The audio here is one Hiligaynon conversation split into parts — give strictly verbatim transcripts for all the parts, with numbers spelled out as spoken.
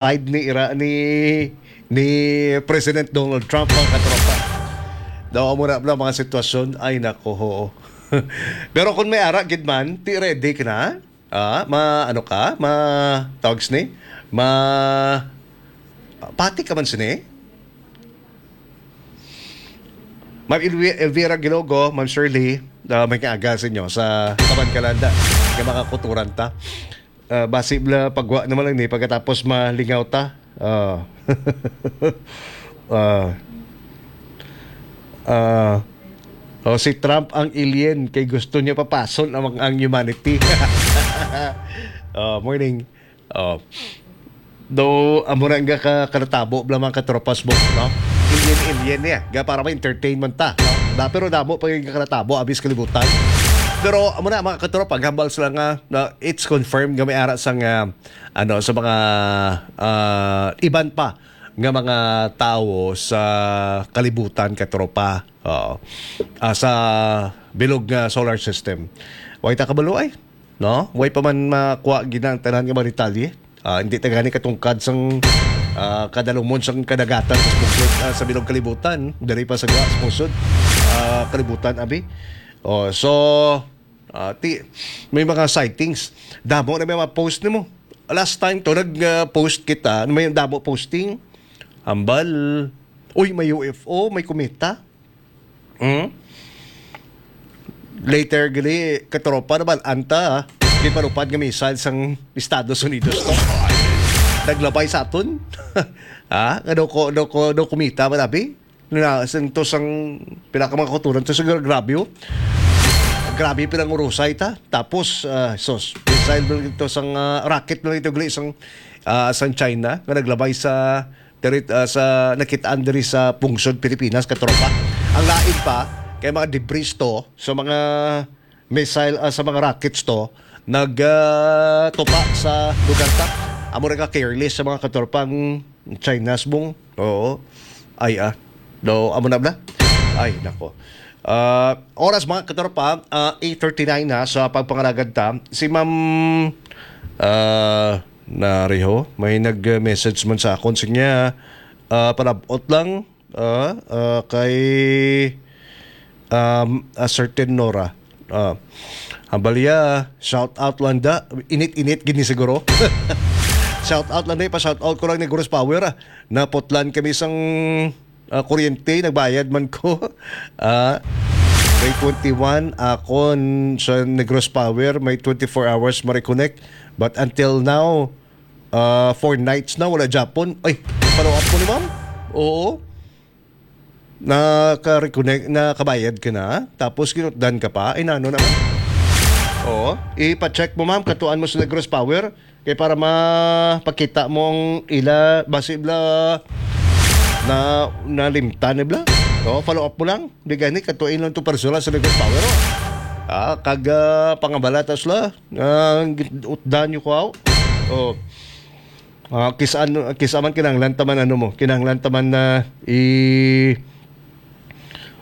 side ni ira ni, ni President Donald Trump, mga katropa. Daw, amo na bala mga sitwasyon. Ay, nako, ho. Pero kung may ara gid man, ti ready ka na? Ah, ma, ano ka? Ma, tawag sini? Ma, pati ka man sini? Ma'am Elvi-, Elvira Gilogo, Ma'am Shirley, ah, may kaaga sa inyo sa Kaban Kalanda, nga makakuturan ta. Ah, basi bala pagwa naman lang ni pagkatapos malingaw ta. Ah. Ah. Ah. Oh, si Trump ang alien kay gusto niya papason ang, ang humanity. Oh, morning. Oh. Do, amo na nga ka, kanatabo bala mga katropas mo, no? Alien, alien niya. Ga para ma-entertainment ta, no? Da, pero damo pa yung kanatabo, abis kalibutan. Pero amo na, mga katropa, gambal sila nga, na it's confirmed nga may ara sang, ah, ano, sa mga, ah, iban pa nga mga tawo sa kalibutan, katropa. Oo. Ah, sa bilog nga solar system. Way ta kabalo ay, no? Way pa man makuha gina ang tanan nga mga detalye. Ah, hindi ta gani katungkad sang, ah, kadalumon sang kadagatan sa pungsod, ah, sa bilog kalibutan, diri pa sa, sa pungsod, ah, kalibutan, abi. Oh, so, ah, ti-, may mga sightings. Damo na may mga post nimo. Last time to, nag-post kita, may damo posting. Hambal. Uy, may U F O, may kumita. Hmm? Later, gali, katropa na bal-an ta, ah. Ginpalupad nga missile sang Estados Unidos to. Naglabay sa aton. Ha? Ano ko, ano ko, ano kumita, malabi? Na, sang to sang pila ka mga kauturan to, sa gra-, grabe, oh. Grabe, pinangurusay ta. Tapos, ah, sus, missile lang ito sang, ah, rocket lang ito, gali, sang, ah, sang China, nga naglabay sa, diri, ah, sa nakitaan diri sa pungsod Pilipinas, katropa. Ang lain pa, kay mga debris to, sa mga missile, ah, sa mga rockets to, nag, ah, tupa sa lugar ta. Amo ra ka careless sa mga katropa ang China, subong. Oo. Ay, ah. Do, amo na bala? Ay, nako. Ah, oras, mga katropa, ah, eight thirty-nine na sa pagpangalagad ta. Si Ma'am, ah, Nariho, may nag-message man sa akon. Sige, ah, palabot lang. Ah, ah, kay, um, a certain Nora. Ah, ang balya, shout out lang da. Init-init gini siguro. Shout out lang da, pa-shout out ko lang ni Negros Power, ah. Naputlan kami sang, ah, kuryente, nagbayad man ko. Ah, may twenty-one, akon sa Negros Power, may twenty-four hours ma-reconnect. But until now, ah, four nights na, wala Japon. Ay, follow up mo ni ma'am? Oo. Naka-reconnect, nakabayad ka na, tapos kinutdan ka pa, ay, nano naman? Oo, ipa-check mo, ma'am, katuan mo sa Negros Power, kay para mapakita mo ang ila, basi bala na, nalimtan ni bala. Oo, follow up mo lang. Di gani, katuin lang to personal sa Negros Power, oh. Ah, kag, ah, pangabalatas la, ah, utdan nyo ko, aw. Oh. Ah, kis-, ano, kisa man kinahanglan ta man, ano mo, kinahanglan ta man na i-,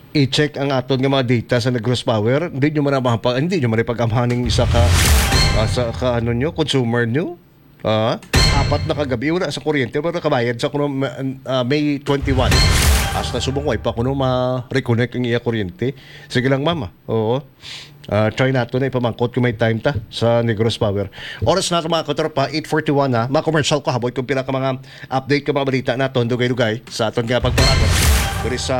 i-check ang aton nga mga data sa Negros Power. Hindi nyo man na mapa-, hindi nyo man ipag-amhaning isa ka, ah, sa ka, ano nyo, consumer nyo. Ah, apat na kagabi, wala sa kuryente, pero nakabayad sa kuno, ma-, ah, May twenty-one. Hasta subong, way pa kuno ma-reconnect ang iya kuryente. Sige lang, mama. Oo. Ah, try nato na ipamangkot kung may time ta sa Negros Power. Oras na, mga katropa, eight forty-one na. Ma-commercial ko, habot kung pila ka mga update, ka mga balita naton, dugay-dugay sa aton nga pagparagat diri sa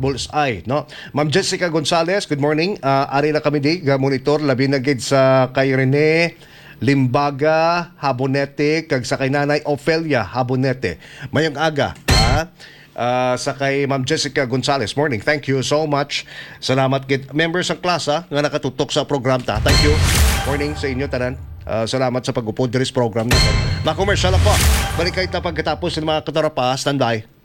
Bullseye, no? Ma'am Jessica Gonzalez, good morning. Ah, ari na kami di, ga monitor, labi na gid sa kay Rene Limbaga Habonete, kag sa kay Nanay Ofelia Habonete. Mayong aga, ha? Ah, sa kay Ma'am Jessica Gonzalez. Morning. Thank you so much. Salamat gid. Members sa klasa nga nakatutok sa program ta. Thank you. Morning sa inyo tanan. Ah, salamat sa pag-upod diri sa program nato. Ma-commercial ako. Balik kayo ta pagkatapos ng mga katropa. Standby.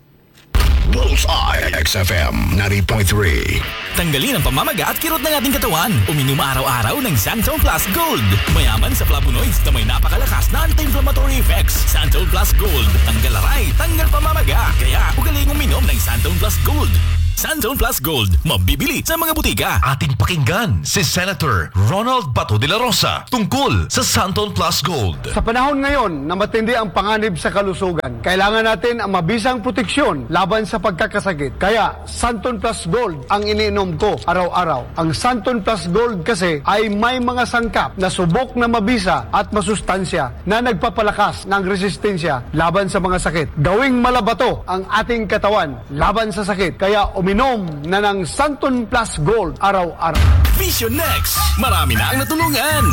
Bullseye X F M ninety point three. Tanggalin ang pamamaga at kirot ng ating katawan. Uminom araw-araw ng Santon Plus Gold. Mayaman sa flavonoids na may napakalakas na anti-inflammatory effects. Santon Plus Gold. Tanggal aray, tanggal pamamaga. Kaya, ugaling uminom ng Santon Plus Gold. Santon Plus Gold, mabibili sa mga butika. Ating pakinggan si Senator Ronald Bato de la Rosa tungkol sa Santon Plus Gold. Sa panahon ngayon na matindi ang panganib sa kalusugan, kailangan natin ang mabisang proteksyon laban sa pagkakasakit. Kaya, Santon Plus Gold ang iniinom ko araw-araw. Ang Santon Plus Gold kasi ay may mga sangkap na subok na mabisa at masustansya na nagpapalakas ng resistensya laban sa mga sakit. Gawing malabato ang ating katawan laban sa sakit. Kaya uminom na ng Santon Plus Gold araw-araw. Vision X, marami na ang natulungan.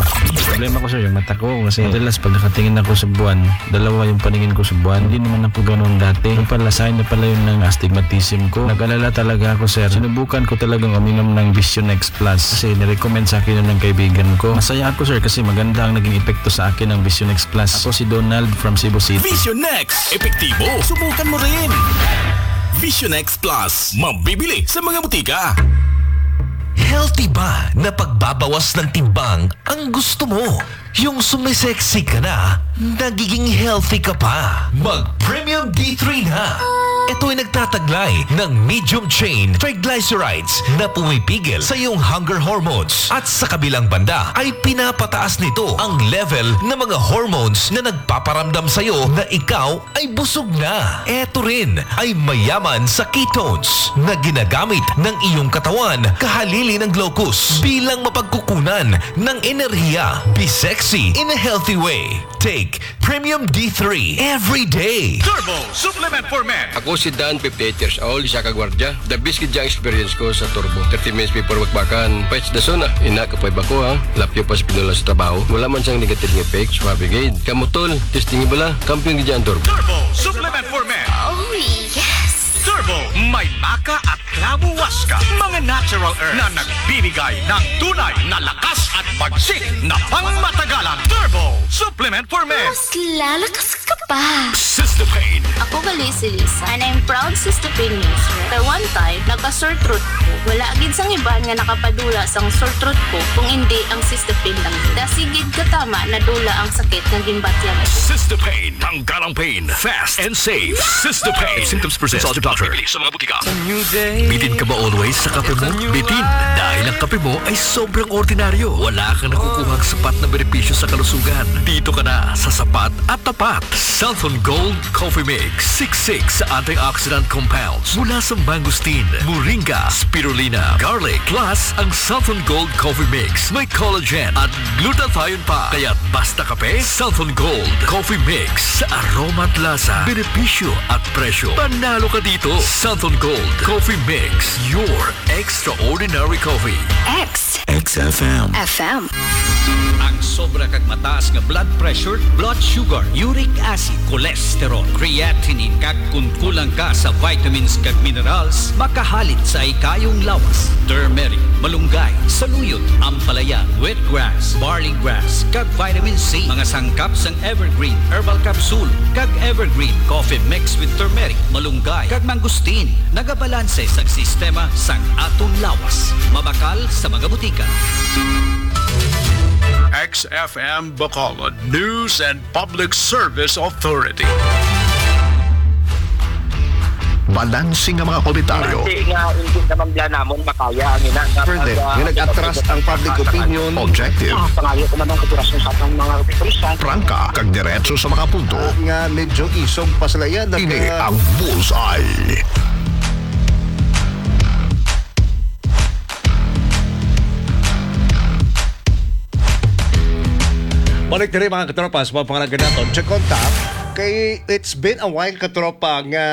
Problema ko, sir, yung mata ko. Kasi madalas pag nakatingin ako sa buwan, dalawa yung paningin ko sa buwan. Hindi naman ako ganun dati. Yung pala, sign na pala yun ng astigmatism ko. Nag-alala talaga ako, sir. Sinubukan ko talagang uminom ng Vision X Plus kasi nirecommend sa akin yun ng kaibigan ko. Masaya ako, sir, kasi maganda ang naging epekto sa akin ng Vision X Plus. Ako si Donald from Cebu City. Vision X, epektibo. Subukan mo rin. Vision X Plus, mabibili sa mga butika. Healthy ba na pagbabawas ng timbang ang gusto mo? Yung sumisexy ka na, nagiging healthy ka pa. Mag Premium D three na. Ito ay nagtataglay ng medium chain triglycerides na pumipigil sa iyong hunger hormones. At sa kabilang banda ay pinapataas nito ang level ng mga hormones na nagpaparamdam sa iyo na ikaw ay busog na. Ito rin ay mayaman sa ketones na ginagamit ng iyong katawan kahalili ng glucose bilang mapagkukunan ng enerhiya. Be sexy in a healthy way. Take Premium D three every day. Turbo Supplement for Men. Ako si Dan, fifty-eight years old, isa ka gwardiya. The best gid ang experience ko sa Turbo. Thirty minutes before bakbakan, pets the zone ah. Ina, kapoy ba ko ha? Lapyo pa sa pinula sa trabaho. Wala man siyang negative effect, suabe gid. Kamo tol, testing bala, kampiyon gid ang Turbo. Turbo Supplement for Men. Oh, yes. Turbo, may maca at clavo huasca. Mga natural herbs na nagbibigay ng tunay na lakas at bagsik na pangmatagalan. Turbo Supplement for Men. Mas lalakas ka pa. Sister Pain. Ako gali si Lisa, and I'm proud Sister Pain user. Kay one time, nagka-sore throat ko. Wala gid sang iban nga nakapadula sang sore throat ko kung indi ang Sister Pain lang. Dasi gid katama nadula ang sakit nga ginbatyagan ko. Sister Pain. Tanggal ang pain. Fast and safe. Sister Pain. If symptoms persist, consult your doctor. Bibili sa mga butika. Bitin ka ba always sa kape mo? Bitin, dahil ang kape mo ay sobrang ordinaryo. Wala kang nakukuhang sapat na benepisyo sa kalusugan. Dito ka na sa sapat at tapat. Santon Gold Coffee Mix. Siksik sa antioxidant compounds mula sa mangosteen, moringa, spirulina, garlic. Plus, ang Santon Gold Coffee Mix may collagen at glutathione pa. Kaya't basta kape, Santon Gold Coffee Mix. Sa aroma at lasa, benepisyo at presyo, panalo ka dito. Santon Gold Coffee Mix, your extraordinary coffee. X X F M. F M. Ang sobra kag mataas nga blood pressure, blood sugar, uric acid, cholesterol, creatinine, kag kun kulang ka sa vitamins kag minerals, makahalin sa ikayong lawas. Turmeric, malunggay, saluyot, ampalaya, wheatgrass, barley grass, kag vitamin C. Mga sangkap sang Evergreen Herbal Capsule kag Evergreen Coffee Mix with Turmeric, Malunggay, kag Mangosteen. Nagabalanse sa sistema sang atong lawas. Mabakal sa mga butika. X F M Bacolod News and Public Service Authority. Balanse nga mga komentaryo. Balanse nga hindi naman bala namon makaya ang ina nga Further, pag, ah, nga nag-atras ang public opinion. Objective. Ah, pangayo ko man ang operasyon sa atong mga opisyal. Prangka, kag diretso sa mga punto. Ah, nga medyo isog pa sila yan. Ini ang Bullseye. Balik diri, mga katropa, sa mga pangalagad naton. Check on top. Kay it's been a while, katropa, nga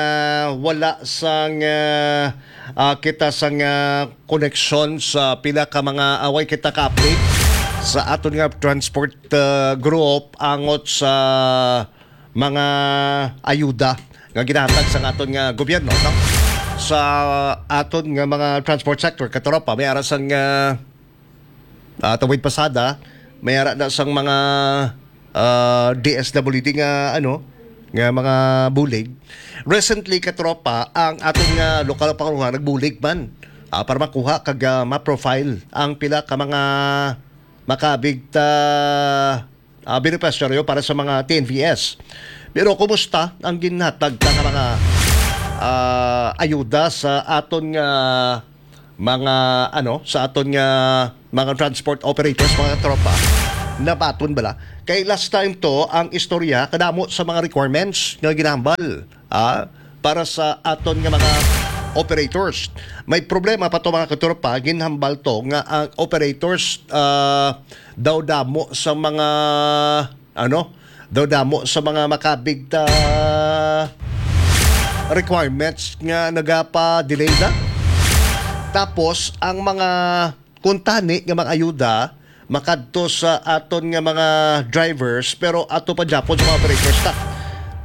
wala sang, ah, ah, kita sang, ah, koneksyon sa pila ka mga away kita ka-update sa aton nga transport, ah, group angot sa mga ayuda nga ginahatag sa aton nga gobyerno, no? Sa aton nga mga transport sector, katropa, may ara sang, ah, ah, tuig pasada, may ara na sang mga, ah, D S W D nga, ano, nga mga bulig. Recently, katropa, ang aton nga lokal nga pangulohan nagbulig man, ah, para makuha kag, ah, ma-profile ang pila ka mga makabig ta, ah, benepisyaryo para sa mga T N V S. Pero kumusta ang ginhatag ta nga mga, ah, ayuda sa aton nga mga, ano, sa aton nga mga transport operators, mga tropa, nabaton bala. Kay last time to, ang istorya, kadamo sa mga requirements nga ginahambal, ah, para sa aton nga mga operators. May problema pa to, mga katropa, ginhambal to nga ang operators, ah, daw damo sa mga, ano, daw damo sa mga makabig ta requirements nga nagapa-delay na. Tapos, ang mga kuntani nga mga ayuda makadto sa aton nga mga drivers, pero ato pa gyapon sa mga operators ta.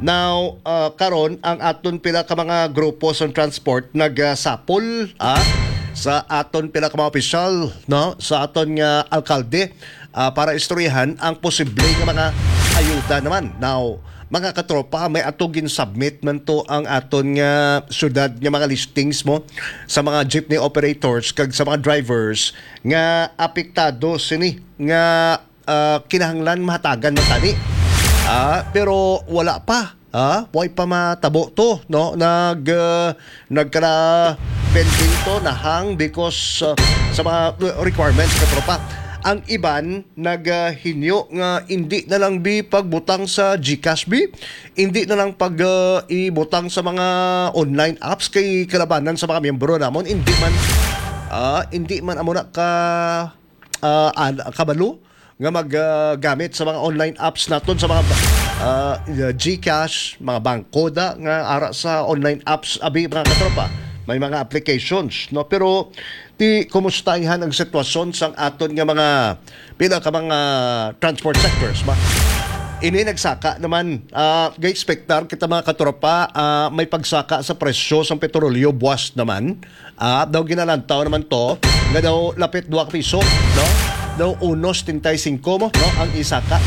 Now, ah, karon ang aton pila ka mga grupo sa transport nagasapol, ah, sa aton pila ka mga opisyal, no, sa aton nga alkalde, ah, para istoryahan ang posible nga mga ayuda naman. Now, mga katropa, may ato gin-submit man to ang aton nga syudad nga mga listings mo sa mga jeepney operators kag sa mga drivers nga apektado sini nga, ah, kinahanglan mahatagan man tani. Ah, pero wala pa. Ah, way pa matabo to, no? Nag, ah, nagkala pending to, nahang because, ah, sa mga requirements, katropa. Ang iban nagahinyo nga hindi na lang bi pagbutang sa GCash bi, hindi na lang pag, ah, ibutang sa mga online apps kay kalabanan sa mga miyembro namon, hindi man, ah, hindi man amo na ka, ah, an-, kabalo nga mag, ah, gamit sa mga online apps naton, sa mga, ah, GCash, mga bangko da nga ara sa online apps, abi, mga katropa, may mga applications, no? Pero ti kumusta ang sitwasyon sang aton nga mga pila ka mga transport sectors ba? Ini nagsaka naman, ah, ga-expectar kita, mga katropa, ah, may pagsaka sa presyo sang petrolyo buwas naman. Ah, daw ginalantaw naman to nga daw lapit dua ka piso, no? Daw uno setenta y cinco mo, no, ang isaka.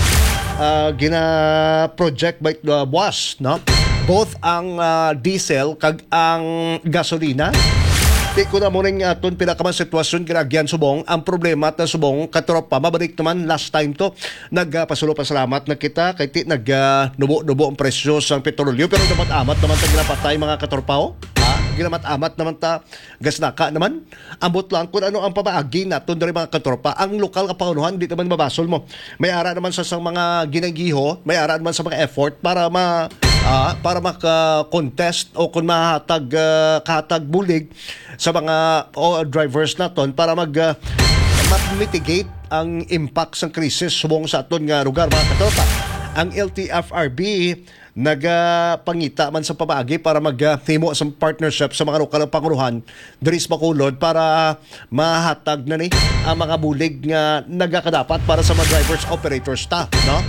Ah, gina-project by, ah, buwas, no? Both ang, ah, diesel kag ang gasolina. Ti ko na mo ning aton pila ka mga sitwasyon ginagyan subong. Ang problema ta subong, katropa, mabalik naman last time to. Nagpasalamat na kita kay ti nag, ah, nubo-nubo ang presyo sang petrolyo, pero dapat amat naman ta ginapatay, mga katropa, oh. Ha? Ginamat-amat naman ta gasnaka naman. Ambot lang kung ano ang pamaagi naton diri, mga katropa. Ang lokal nga pangunuhan, di naman mabasol mo. May ara naman sa sang mga ginagiho, may ara naman sa mga effort para ma, ah, para maka-contest o kung mahatag, ah, kahatag bulig sa mga, o, drivers naton para mag, ah, ma-mitigate ang impact sang krisis subong sa aton nga lugar, mga katropa. Ang L T F R B nagapangita man sa pamaagi para maghimo sa partnership sa mga lokal nga pangulohan diri sa Bacolod para mahatag na ni ang mga bulig nga nagakadapat para sa mga drivers, operators ta, no?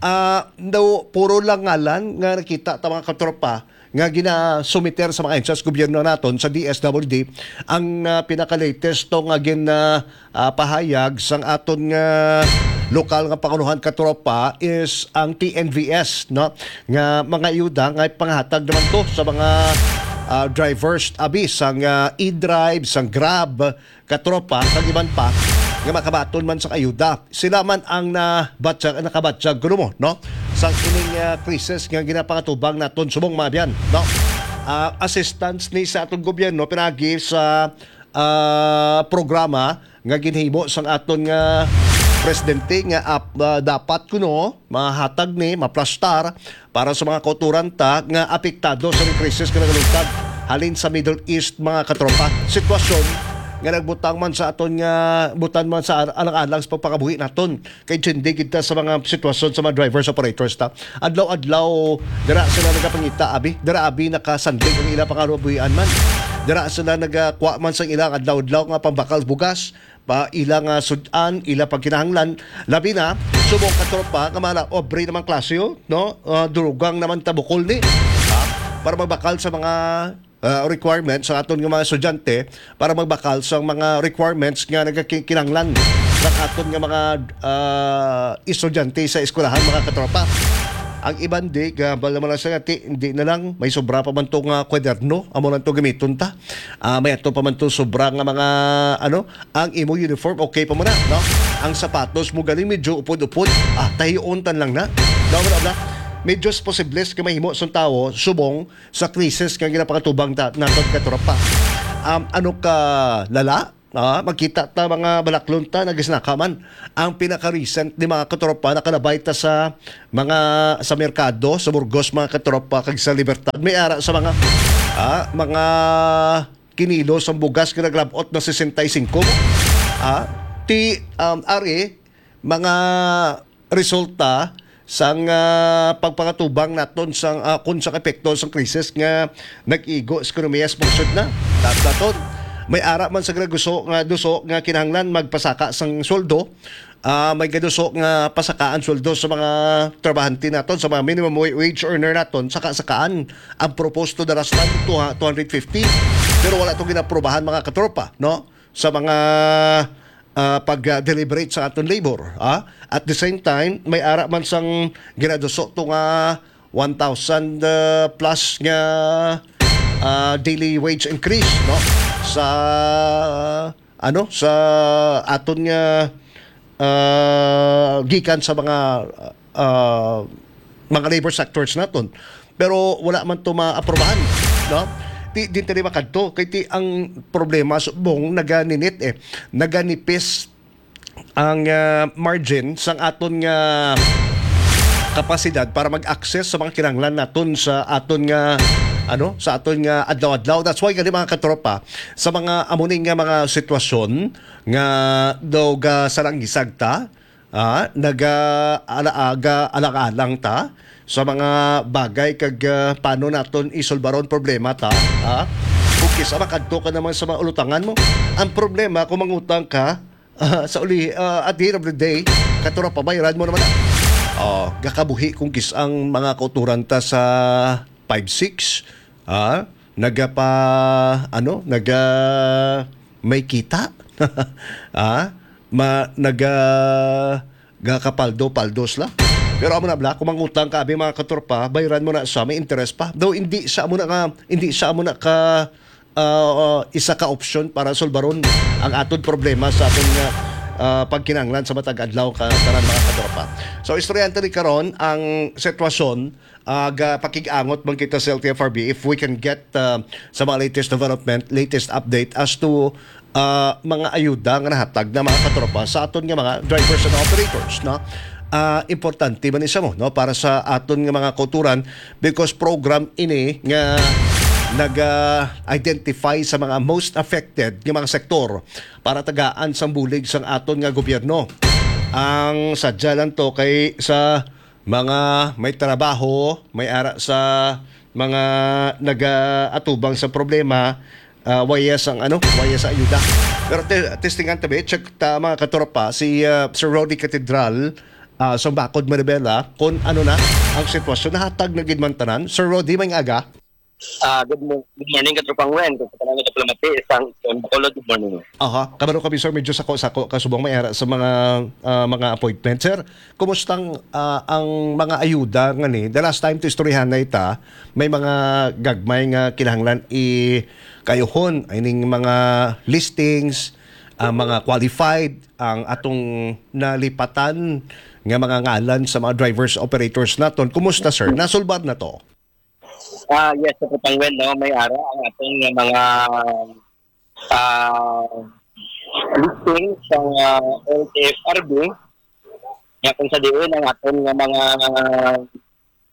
Ah, daw puro lang ngalan nga nakita ta, mga katropa, nga ginasumiter sa mga ahensya sa gobyerno naton sa D S W D ang, ah, pinaka-latest to nga gin, ah, ah, pahayag sang aton nga lokal nga pangulohan, katropa, is ang T N V S, no, nga mga ayuda nga pangahatag naman to sa mga, ah, drivers, abi, sang, ah, e-drive, sang Grab, katropa, kag iban pa nga makabaton man sa ayuda. Sila man ang nabatyag, nakabatyag kuno mo, no, sang ining, ah, krisis nga ginapangatubang naton subong, mga abyan, no? Ah, assistance ni sa atong gobyerno pinagi sa, ah, programa nga ginhimo sang aton nga presidente nga ap-, ah, dapat kuno mahatag ni, maplastar para sa mga kauturan ta nga apektado sa krisis nga nagaluntad halin sa Middle East, mga katropa. Sitwasyon nga nagbutang man sa aton nga, butan man sa ar-, alang-alang sa pagpangabuhi naton. Kay tindi gid ta sa mga sitwasyon sa mga drivers, operators ta. Adlaw-adlaw, dira sila nagapangita, abi. Dira, abi, nakasanding ang ila pangabuhian man. Dira sila nagakuha man sa ilang adlaw-adlaw nga pambakal bugas, pa ila nga sud-an, ila pagkinahanglan. Labi na, subong, katropa, nga mga obre naman klase, oh, no? Ah, durugang naman tabukol ni. Ah, para magbakal sa mga, ah, requirements sa aton nga mga estudyante, para magbakal sa mga requirements nga nagakinahanglan sa aton nga mga, ah, estudyante sa eskwelahan, mga katropa. Ang iban di, gabal naman lang sa ngati, hindi na lang, may sobra pa man to nga kwaderno, amo lang to gamiton ta. Ah, may ato pa man to sobra nga mga, ano, ang imo uniform, okay pa mo na, no? Ang sapatos mo galing medyo upod-upod, ah, tahion tan lang na. No, wala na. Medyo posibles nga mahimo sang tawo subong sa krisis nga ginapakatubang ta-, naton, katropa. Um, ano ka lala? Ah, magkita ta mga balaklon ta, nagisnaka man. Ang pinaka-recent ni mga katropa, nakalabay ta sa mga, sa merkado, sa Burgos, mga katropa, kag sa Libertad. May ara sa mga, ah, mga kinilo sang bugas nga naglab-ot na sesenta y cinco. Ah, ti, um, ari, mga resulta sang, ah, pagpangatubang naton sang, ah, kun sa epekto sang krisis nga nag-igo sa ekonomiya sa pungsod na. Dapat naton, may ara man sa graguso nga duso nga kinahanglan magpasaka sang sweldo, ah, may gaduso nga pasakaan sweldo sa mga trabahante naton, sa mga minimum wa-, wage earner naton, saka sakaan ang proposed to the last time, two, two hundred fifty. Pero wala to ginaprobahan, mga katropa, no? Sa mga, ah, pag, ah, deliberate sa aton labor, ah. At the same time, may ara man sang ginaduso to nga one thousand, ah, plus nga, ah, daily wage increase, no? Sa, ano, sa aton nga, ah, gikan sa mga, ah, mga labor sectors naton. Pero wala man to maaprobahan, no? Di, di tayo makadto. Kay ti ang problema subong naganinit eh. Naganipis ang, ah, margin sang aton nga kapasidad para mag-access sa mga kinahanglan naton sa aton nga, ano, sa aton nga adlaw-adlaw. That's why gani, mga katropa, sa mga amo ni nga mga sitwasyon nga daw ga salangisag ta, ah, naga-, ala-, aga-, alang-alang ta sa mga bagay kag, ah, paano naton isulbaron problema ta, ah. Kung kisa makadto ka naman sa mga ulutangan mo, ang problema kung mangutang ka, ah, sa uli, ah, at the end of the day, katropa, bayaran mo naman na. Oh, gakabuhi kung kis ang mga kauturan ta sa five six, ah, nagapa, ano, naga, may kita. Ah, ma, naga, gakapaldo-paldos lang. Pero amo na bala, kung mangutang ka, abi, mga katropa, bayaran mo na sa may interest pa. Though hindi sa amo na ka, hindi sa amo na ka, ah, isa ka opsyon para sulbaron ang aton problema sa aton nga, ah, pagkinahanglan sa matag adlaw ka tanan, mga katropa. So, istoryahan ta ni karon ang sitwasyon, ah, ga pakig-angot man kita sa L T F R B if we can get, ah, sa mga latest development, latest update as to, ah, mga ayuda nga nahatag na, mga katropa, sa aton nga mga drivers and operators, no? Ah, importante man isa mo, no, para sa aton nga mga kauturan, because program ini nga naga-identify sa mga most affected nga mga sektor para tagaan sang bulig sang aton nga gobyerno. Ang sadya lang to kay sa mga may trabaho, may ara sa mga nagaatubang sa problema, ah, waya sang, ano, waya sa ayuda. Pero te-, testingan tabi, check ta, mga katropa, si, ah, Sir Rody Catedral, ah, sa Bacod, Manibela, kung ano na ang sitwasyon. Nahatag na gid man tanan. Sir Rody, may aga. Ah, good mo-, good morning, Katropang Wen. Kung sa tanan nga nagpalamati, isang isang Bacolod, good morning. Aha, kabalo kami, sir, medyo sako-sako ka subong may ara sa mga, ah, mga appointment. Sir, kumustang, ah, ang mga ayuda nga ni? The last time to istoryahan na ita, may mga gagmay nga kinahanglan i kayuhon, ining mga listings, ah, mga qualified, ang atong nalipatan nga mga ngalan sa mga drivers, operators naton. Kumusta, sir? Nasulbad na to? Ah, yes, sa Katropang Wen, no, may ara ang aton nga mga, ah, listing sa, ah, L T F R B, nga kung sa diin ang aton nga mga,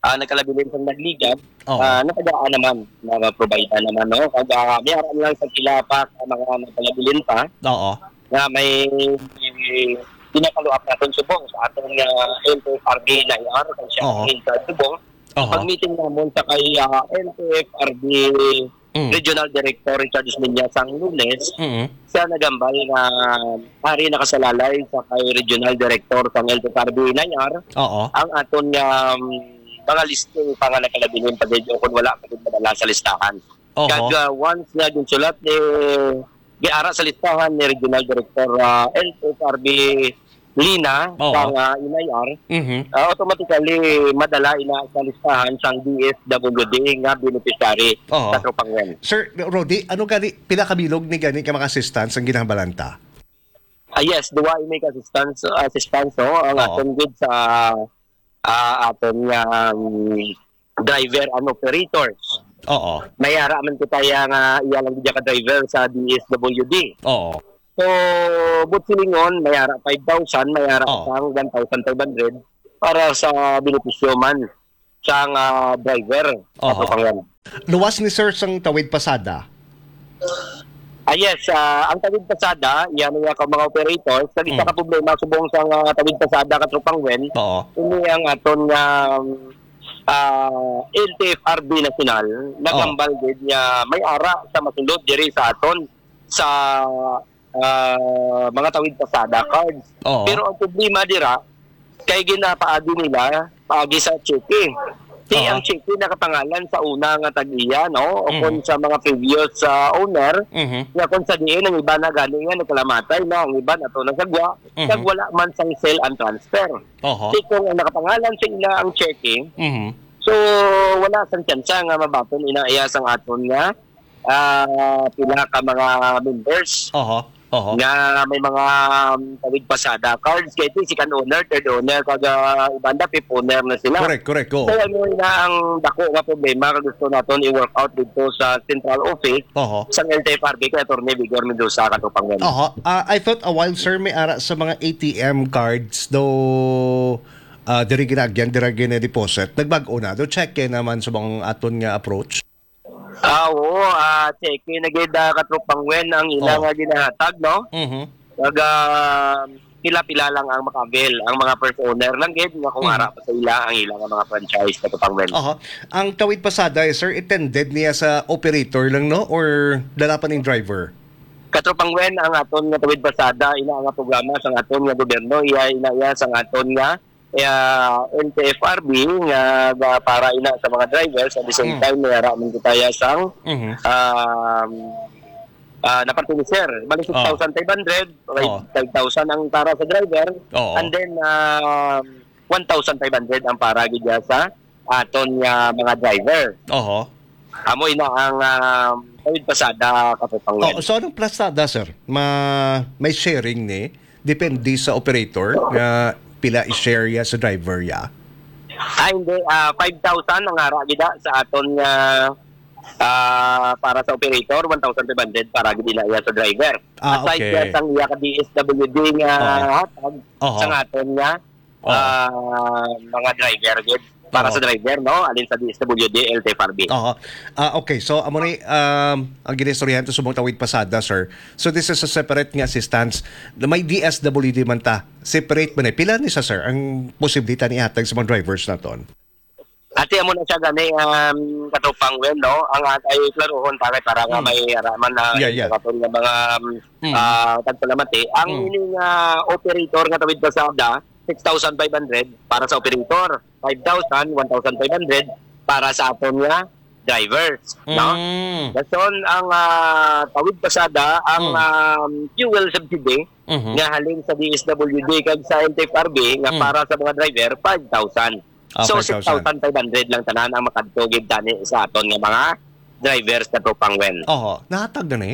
ah, nagkalabilin sa nagligad, Oo. ah, nakagaan naman, na ma-provide naman, no? Kag, ah, may ara lang sa sila pa sa mga nagkalabilin pa Oo. nga may pinakaluap naton subong sa aton nga L T F R B Nayar, kag siya Oo. in charge subong. Aha. Pag-meeting namon sa kay, ah, L T F R B Mm. Regional Director Richard Esmeña sang Lunes, Mm. siya nagambal nga ari nakasalalay sa kay Regional Director sang L T F R B Nayar Oo. ang aton nga, um, mga listing pa nga nagkalabilin pa gid o kung wala pa gid madala sa listahan. Oho. Kag, ah, once nga ginsulat ni, giara sa listahan ni Regional Director, ah, L T F R B Lina Oo. sang, ah, Inayar, Mhm. ah, automatically madala ina sa listahan sang D S W D nga beneficiary Oo. sa Katropang Wen. Sir Rody, ano gani, pila ka bilog ni gani ka mga assistance ang ginahambalan ta? Ah, yes, duwa ini ka assistance, assistance, no? Ang Oo. aton gid sa ah, aton nga, um, driver and operators. Oo. May ara man kita ya nga iya lang gid ka driver sa D S W D. Oo. So, buot silingon, may ara five thousand, may ara Oo. sang one thousand five hundred para sa benepisyo man sang, ah, driver, Oo. Katropang Juan. Luwas ni sir sang tawid pasada? Ah, yes, ah, ang tawid pasada, yan nga ka mga operators, nag isa Mm. ka problema subong sang, ah, tawid pasada, Katropang Wen. Oo. Ini ang aton nga, ah, L T F R B National, Oo. nagambal gid nga may ara sa masulod diri sa aton sa, ah, mga tawid pasada cards. Oo. Pero ang problema dira, kay ginapaagi nila, paagi sa cheque. Di Oo. ang cheque nakapangalan sa una nga tag-iya, no? O Mm. kung sa mga previous, ah, owner, Mhm. nga kung sa diin ang iba na gani nga nagkalamatay na, ang iba na to nasagwa, Mhm. nagwala man sang sale and transfer. Oho. Di kung ang nakapangalan sa ila ang cheque, Mhm. so wala sang tsansa nga mabaton ina iya sang aton nga, ah, pila ka mga members Oho. Oho. nga may mga, um, tawid pasada cards, kay ito, second owner, third owner, kag, ah, iban na, fifth owner na sila. Correct, correct, oo. So, ano na ang dako nga problema nga gusto naton i-work out dito sa central office Oho. sang L T F R B kay Attorney Vigor Mendoza, Katropang Wen. Oho. Ah, I thought a while, sir, may ara sa mga A T M cards, though, ah, diri ginaagyan, diri gina-deposit. Nagbag-o na. Do check naman sa mga aton nga approach. Ah, oo, ah, check na gid, ah, Katropang Wen, ang ila Oo. nga ginahatag, no? Mhm. Kag, ah, pila-pila lang ang maka-avail, ang mga first owner lang gid nga kung Mhm. ara pa sa ila ang ila nga mga franchise, Katropang Wen. Aha. Ang tawid pasada, eh, sir, itended niya sa operator lang, no? Or dala pa ning driver? Katropang Wen, ang aton nga tawid pasada, ina nga programa sang aton nga gobyerno, iya, ina iya sang aton nga ah, L T F R B nga, nga para ina sa mga drivers, at the same Mm. time, may ara man kita ya sang, Mhm. um, ah, napartinisir. Bali, Oh. six thousand five hundred, five, Oh. five thousand ang para sa driver, Oo. and then, um, one thousand five hundred ang para gid ya sa aton nga mga driver. Oho. Amo ina ang, um, tawid pasada, Katropang Wen. Oh, so anong plasada, sir? Ma-, may sharing ni? Depende sa operator nga pila i-share ya sa driver ya? Ah, hindi. Ah, five thousand ang ara gid, ah, sa aton nga, ah, para sa operator, one thousand five hundred para gid ina iya sa driver. Ah, Aside okay. ya sang iya ka D S W D nga Oo. hatag Oo. sa aton nga Oo. ah, mga driver gid. Para Oo. sa driver, no? Alin sa D S W D, L T F R B. Oo. Ah, okay. So, amo ni, um, ang ginistoryahan to sa mga tawid pasada, sir. So, this is a separate nga assistance. May D S W D man ta. Separate man eh. Pila ni sa, sir, ang posible ta ni ihatag sa mga drivers naton? Ate, amo na siya gani, um, Katropang Wen, no? Ang at-, ay klaruhon, pare, para nga Hmm. may araman na Yeah, yeah. sa aton nga mga, um, Hmm. ah, tagpalamati. Ang Hmm. ining, ah, operator nga tawid pasada, six thousand five hundred para sa operator, five thousand, one thousand five hundred para sa aton nga drivers, no? Mm. Dason ang, ah, tawid pasada, ang, Mm. um, fuel subsidy Mhm. nga halin sa D S W D kag sa L T F R B nga Mm. para sa mga driver, five thousand. Ah, So, five thousand. six thousand five hundred lang tanan ang makadto gid tani sa aton nga mga drivers, Katropang Wen. Oho, nahatag na ni?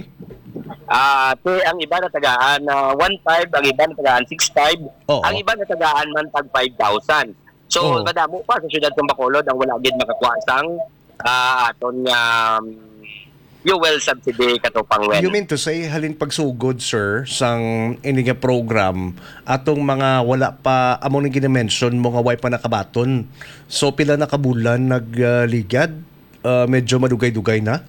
Ah, ti, ang iba natagaan na one five, ang iba natagaan six five, Oo. ang iba natagaan man tag five thousand. So, Oo. madamo pa sa siyudad sa Bacolod ang wala gid makakuha sang, ah, aton nga, um, fuel subsidy, Katropang Wen. You mean to say, halin pagsugod, sir, sang ini nga program, atong mga wala pa, amo nang gina-mention mo nga way pa nakabaton. So, pila na ka bulan nag, ah, ligad? Ah, medyo madugay-dugay na?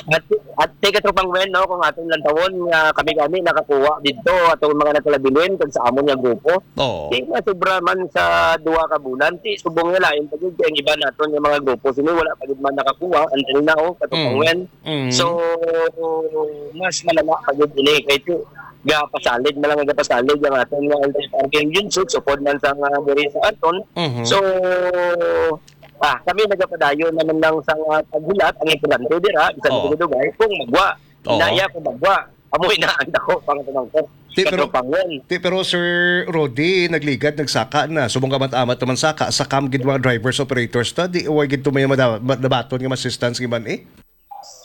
At, at ti, Katropang Wen, no, kung aton lantawon nga kami gani nakakuha didto, atong mga nagkalabilin kag sa amon nga grupo, Oo. di na sobra man sa duha ka bulan. Ti, subong nga lain pa gid, ang iba naton nga mga grupo, sini wala pa gid man nakakuha until now, Katropang Mm. Wen. Mm. So, mas malala pa gid ini. Kay ti, gapasalig na lang, gapasalig ang aton nga L T F R B Union Six, upod man sa nga diri sa aton. Mhm. So, ah, kami nagapadayon naman lang sa nga paghulat. Ang importante dira, bisan Oo. dugay-dugay, kung magwa. Oo. Inaya kung magwa. Amo ina ang dako, mga pamangkot. Ti, pero, Katropang Wen. ti, pero, Sir Rudy, nagligad, nagsaka na. Subong ka mat-amat naman saka, sa kam gid mga drivers, operators ta, di, way gid to may mada-, ma-, nabaton nga assistance nga man eh.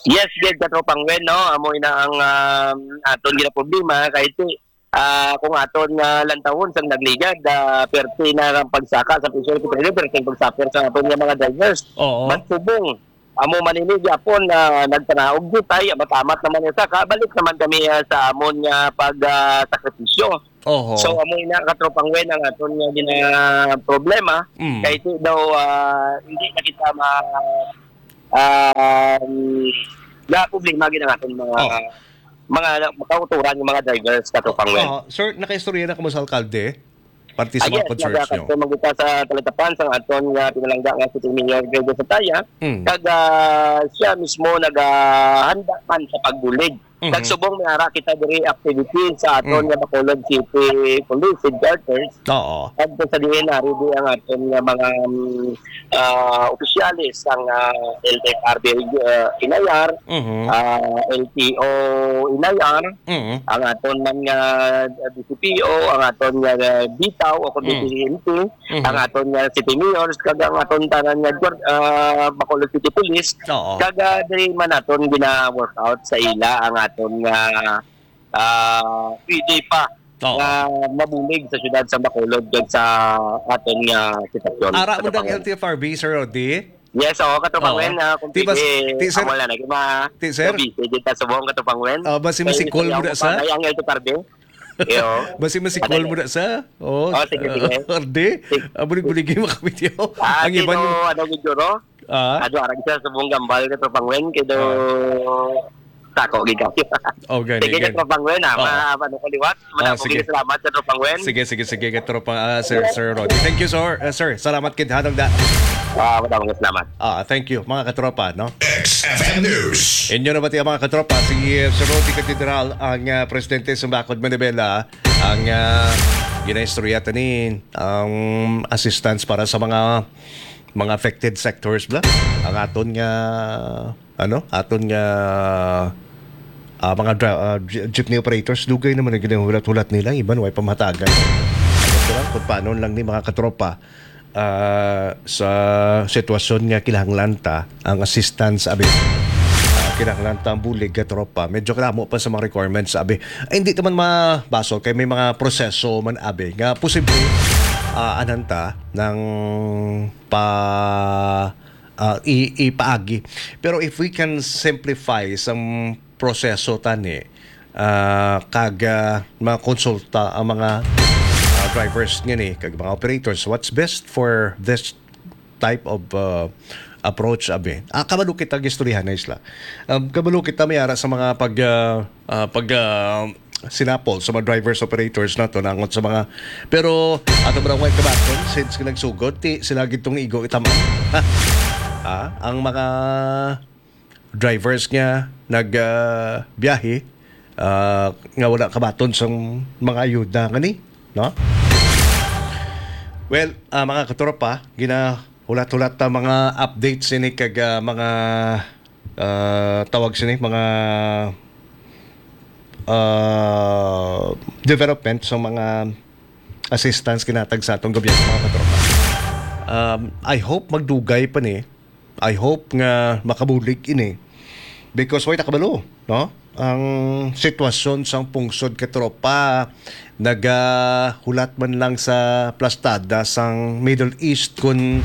Yes, gid, Katropang Wen, no? Amo ina ang, um, aton ginaproblema, kay ti, Ah, kung aton nga lantawon sang nagligad, ah, perti na ang pagsaka sa P C R P, perti ang pagsuffer sa aton nga mga drivers. Oo. But subong, amo man ini gyapon na nagpanaog jutay, amat-amat naman ang saka, balik naman kami, ah, sa amon nga pag, ah, sakripisyo. Oho. So, amo ina, Katropang Wen, ang aton nga gina-, problema. Mm. Kay ti daw, ah, hindi na kita ma-, ah, na problema gid ang aton mga, Oh. mga kauturan, yung mga drivers, Katropang Wen. Oh, sir, nakaistorya na kamo sa alkalde? Parte sa Ah, mga yes, concerns nyo? Nagkakasama kita sa talatapan sa aton nga pinalangga nga si Mayor Gregory Santaya. Mm. Kag, ah, siya mismo naghahanda man sa pagbulig. Mhm. Nagsubong may ara kita diri activity sa aton Mm. nga Bacolod City Police Headquarters. Oo. Kag sa diin ari di ang aton nga mga, mm, ah, opisyales sang, ah, L T F R B, ah, Inayar, Mhm. ah, L T O Inayar, Mhm. ang aton man nga, ah, D C P O, ang aton nga, ah, Bitaw o kundi Mm. P N P, Mhm. ang aton nga City Mayors, kag ang aton tanan nga guard-, ah, Bacolod City Police, Oo. kag, ah, diri man aton gina-work out sa ila ang aton nga, ah, pwede pa Oo. nga mabulig sa siyudad sa Bacolod kag sa aton nga sitwasyon, Ara mo Katropang dang Wen. L T F R B, Sir Rodi? Yes, oo, Katropang Oo. Wen, ah, kung Ti bas-, pwede, ti, sir, amo lang, naging ma-, ti, sir? Busy, di ta subong, Katropang Wen. Ah, basi Kay masikol mo istorya na ko sa? pa, ay, ang L T F R B. Iyo. Basi masikol Ano mo na sa? Oh, Oh, sige, sige. Arde, Sige. Abo ni buligi makabitiyo. Ah, Ang iban sino, yung ano, gid, Juro? Ah? Ano, arang siya sa buong gambal, Katropang Wen, kay do Ah. tako, gid kami. Oh, gani, Sige, gani. Katropang Wen, ah, Oh. ma-, ano ko liwat. Ah, Madamo sige. gid salamat, Katropang Wen. Sige, sige, sige, Katropang, ah, Sir, Sir Rodi. Thank you, sir. Ah, sir, salamat kid hanong da. Ah, madamo gid salamat. Ah, thank you, mga katropa, no? X F M News. Inyo na ba tiya, mga katropa? Si, uh, Sir Rodi Catedral, ang, uh, presidente sa Bakod Manibela, ang, uh, ginaistorya ta ni ang assistance para sa mga, mga affected sectors, bla? Ang aton nga, ano, aton nga, ah, mga dra-, ah, je-, jeepney operators, dugay naman ang ginahulat-hulat nila, iban way pamahatagan. Ito lang, kung paano lang ni mga katropa, ah, sa sitwasyon nga kinahanglan ta ang assistance, abi. Ah, kinahanglan ta ang bulig, katropa. Medyo kadamo pa sa mga requirements, abi. Ay, hindi naman mabasol kay may mga proseso man, abi, nga posible, ah, anan ta ng pa, ah, i-, ipaagi. Pero if we can simplify sang proseso tani, ah, kag, ah, makonsulta ang mga, ah, drivers ngani kag mga operators, what's best for this type of, ah, approach, abi? Ah, kabalo kita, gistoryahan na isla. Um, kabalo kita may ara sa mga pag, ah, ah, pag, ah, sinapol sa mga drivers, operators nato, nangot sa mga, pero ato ba lang kabaton, since nga nagsugod, ti sila gid tong igo itaman. Ah, ang mga drivers nga nag, ah, biyahe, ah, nga wala kabaton sang mga ayuda ngani, no? Well, ah, mga katropa, ginahulat-hulat ta mga updates ini kag, ah, mga, ah, tawag sini, mga, ah, development sa mga assistance ginatag sa atong gobyerno, mga katropa. Um, I hope magdugay pa ni. I hope nga makabulig ini. Because way nakabalo, no? Ang sitwasyon sang pungsod, katropa, nagahulat man lang sa plastada sang Middle East kung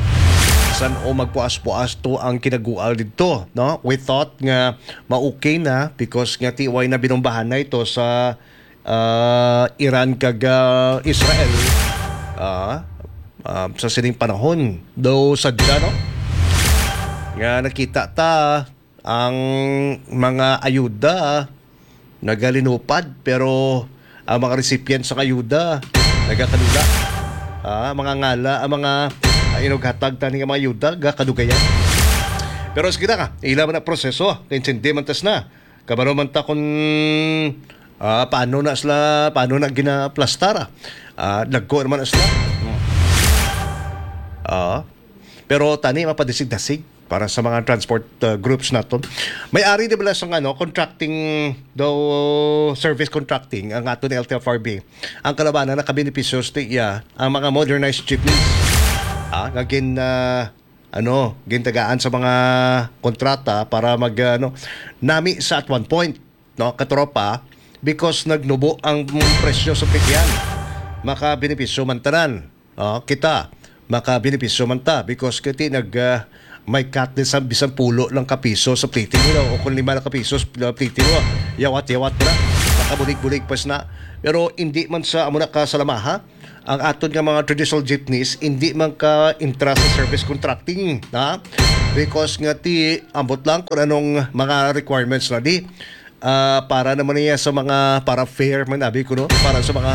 san-o magpuas-puas to ang kinagual didto, no? We thought nga ma-okay na because nga ti way na binumbahan na ito sa, ah, Iran kag, ah, Israel. Ah, ah, sa sining panahon, daw sadya, no? Nga nakita ta ang mga ayuda nagalinupad, pero ang mga recipients sa ayuda nagakadula. Ah, mga ngala, ang mga, ah, inughatag tani nga mga ayuda, gakadugayan. Pero sige na ka, ila man ang proseso, kaintindi man tas na. Kabalo man ta kung, ah, paano na sila, paano na ginaplastara. Ah, dagko naman na sila. Hmm. Ah, pero tani mapadisig-dasig para sa mga transport, uh, groups naton. May ari di bala sang, ano, contracting daw, service contracting ang aton L T F R B. Ang kalabanan nakabenepisyo sa iya ang mga modernized jeepneys. Ah, nga gin, ah, ano, gintagaan sa mga kontrata para mag, ano, nami sa at one point, no, katropa, because nagnubo ang presyo sa pigyan. Makabenepisyo man tanan. Ah, kita, makabenepisyo man ta because kiti nag, ah, may cut din sa bisan pulo lang ka piso sa pliti nila o kung lima lang ka piso sa pliti mo, yawat-yawat na, makabulig-bulig pa na. Pero hindi man sa amo na ka sa lamaha, ang aton nga mga traditional jeepneys hindi man ka intra sa service contracting, ha? Because nga ti ambot lang kung anong mga requirements na di. Ah, para naman niya sa mga para fair man abi ko, no, para sa mga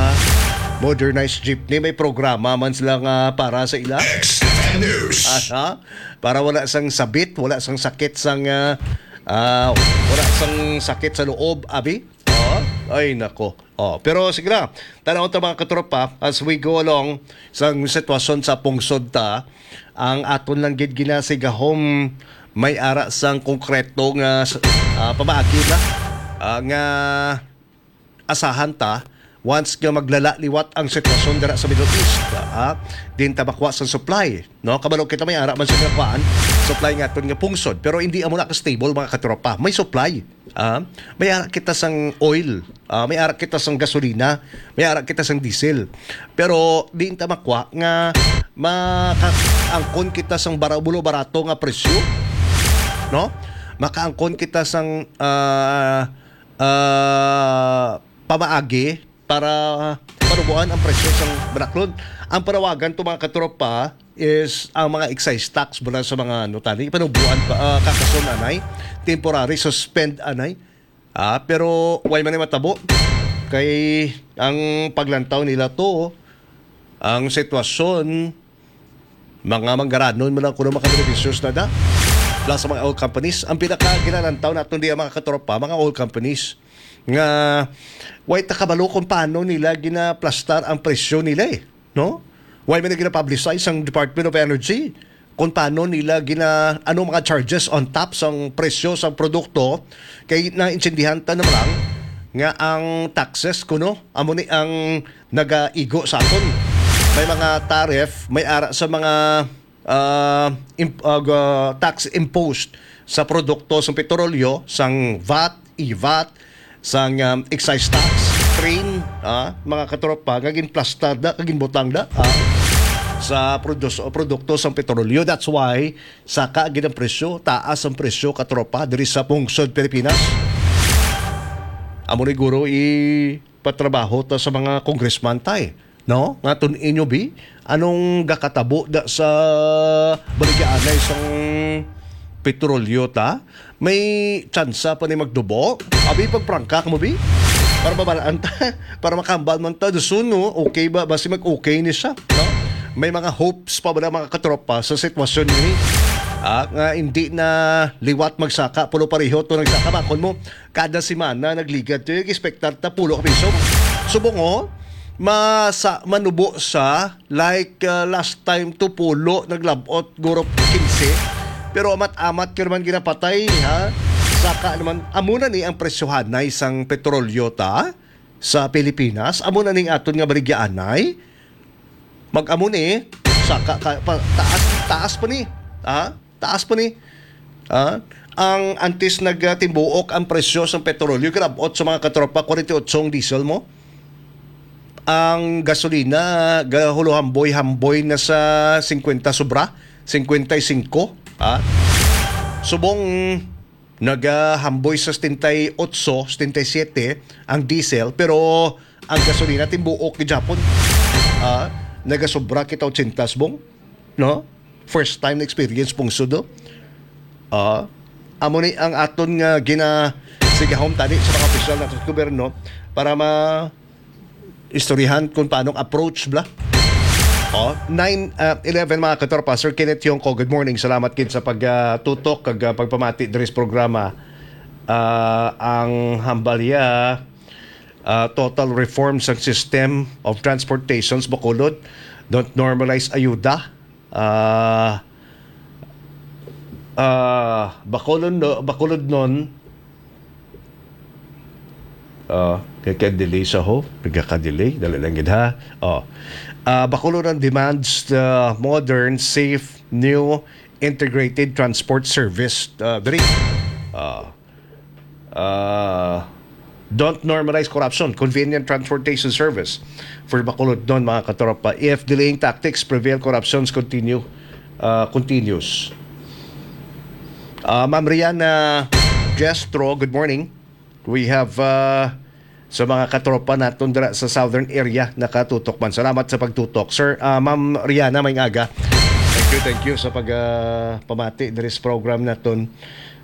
modernized jeepney, may programa man sila nga para sa ila. X F M News. Aha. Para wala sang sabit, wala sang sakit sang, ah, ah, wala sang sakit sa loob, abi. Oh, ay nako. Oh, pero sige na. Tanaw ta, mga katropa, as we go along sa sitwasyon sa pungsod ta, ang aton lang gid ginasigahom may ara sang konkreto nga s-, ah, pamaagi na, ah, nga asahan ta once nga maglala liwat ang sitwasyon dira sa Middle East, ah, din ta makuha sa supply, no? Kabalo kita may ara man sa nga kuan, supply nga aton nga pungsod, pero hindi amo na ka stable, mga katropa. May supply, ah, may ara kita sang oil, ah, may ara kita sang gasolina, may ara kita sang diesel. Pero di ta makwa nga makaangkon kita sang bara-, bulo barato nga presyo, no? Makaangkon kita sang, ah, ah, pamaagi para panubuan ang presyo sang banaklon. Ang panawagan to, mga katropa, is ang mga excise tax mula sa mga, ano, tani, panubuan pa, ah, kakason anay, temporary suspend anay. Ah, pero way man ni matabo. Kay ang paglantaw nila to, ang sitwasyon, mga manggaranon man ang kuno makabenepisyos na da. Plus sa mga oil companies, ang pinaka ginalantaw naton diya, mga katropa, mga oil companies, nga way ta kabalo kung paano nila ginaplastar ang presyo nila eh, no? Way man ginapublicize ang Department of Energy kung paano nila gina-, ano mga charges on top sang presyo sang produkto, kay naintindihan ta naman lang nga ang taxes kuno amo ni ang nagaigo sa aton. May mga tariff, may ara sa mga, ah, imp-, ah, ga-, tax imposed sa produkto sang petrolyo, sang vat, ivat, sang, um, excise tax, train, ah, mga katropa, nga ginplastar da, nga ginbutang da, ah, sa produs-, produkto sang petrolyo. That's why saka gid ang presyo, taas ang presyo, katropa, diri sa pungsod Pilipinas. Amo ni guro i patrabaho ta sa mga congressman tay, no? Nga tun-in nyo, bi, anong gakatabo da sa baligyaanay sang petrolyo ta? May tsansa pa ni magdubo? Abi, pagprangka mo, bi? Para mabalaan ta, para makambal man ta, dasun, no? Okay ba? Basi mag-okay ni siya, no? May mga hopes pa ba na mga katropa sa sitwasyon ni? Ah, nga hindi na liwat magsaka, pulo pareho to nagsaka, bakon mo, kada semana nagligad to, yung expectar ta pulo ka piso. Subong, oh, masa-, manubo sa, like, uh, last time to pulo, naglabot, guro kinse. Pero amat-amat ka naman ginapatay, ha? Saka naman, amo na ni ang presyohanay sang petrolyo ta sa Pilipinas. Amo na ning aton nga baligyaanay. Mag-amo ni, saka ka, pa, taas, taas pa ni. Ha? Taas pa ni. Ah, ang antes nagtimbuok ang presyo sa petrolyo, grabot sa mga katropa, forty-eight ang diesel mo. Ang gasolina, gahulohamboy-hamboy na sa fifty sobra, fifty-five. Ah, subong nagahamboy sa setenta y ocho, setenta y siete ang diesel, pero ang gasolina timbuok gid Japon. Ah, nagasobra kita ochenta, bong, no? First time na experience pungsod, no? Ah, amo ni ang aton nga ginasigahom tani sa mga opisyal naton sa gobyerno para ma istoryahan kung paano ang approach, bla. Oh, nine, ah, eleven, mga katropa. Sir Kenneth Yongko, good morning. Salamat gid sa pag, ah, tutok kag, ah, pagpamati diri sa programa. Ah, ang hambalya, ah, total reform sa system of transportations, Bacolod. Don't normalize ayuda. Ah, ah, Bacolod, no, Bacolod nun, ah, kay, kay delay sa ho, nagkaka-delay, dali lang gid ha. Oh. Ah, Bacolod nun demands the modern, safe, new integrated transport service. Ah, dali. Ah, ah, Don't normalize corruption. Convenient transportation service for Bacolod, no, mga katropa. If delaying tactics prevail, corruptions continue, uh, continues. Uh, Ma'am Riana Jestro, good morning. We have, uh, sa mga katropa naton dira sa southern area nakatutok man. Salamat sa pagtutok. Sir, uh, Ma'am Riana, may aga. Thank you, thank you sa pag, uh, pamati diri sa program naton.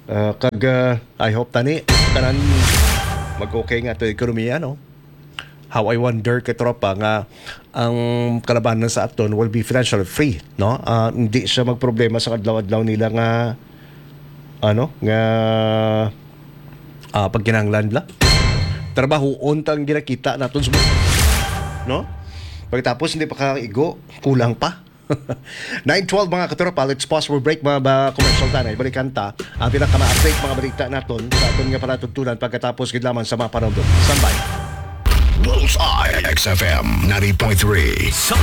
Uh, kag, uh, I hope tani tanan mag-okay nga to ekonomiya, no? How I wonder, katropa, nga ang kalabanan sa aton will be financially free, no? Ah, hindi siya magproblema sa adlaw-adlaw nila nga, ano, nga, ah, pagkinahanglan nila. Trabahoon tang ginakita naton sa, no? Pagkatapos hindi pa kaigo, kulang pa. Nine twelve, mga katropa, let's pause for break, mga ba, commercial tanay. Balikan ta ang pinakama-update, mga balita naton sa aton nga palatuntunan pagkatapos gid lamang sa mga panahon. Standby. Bullseye X F M ninety point three. Sa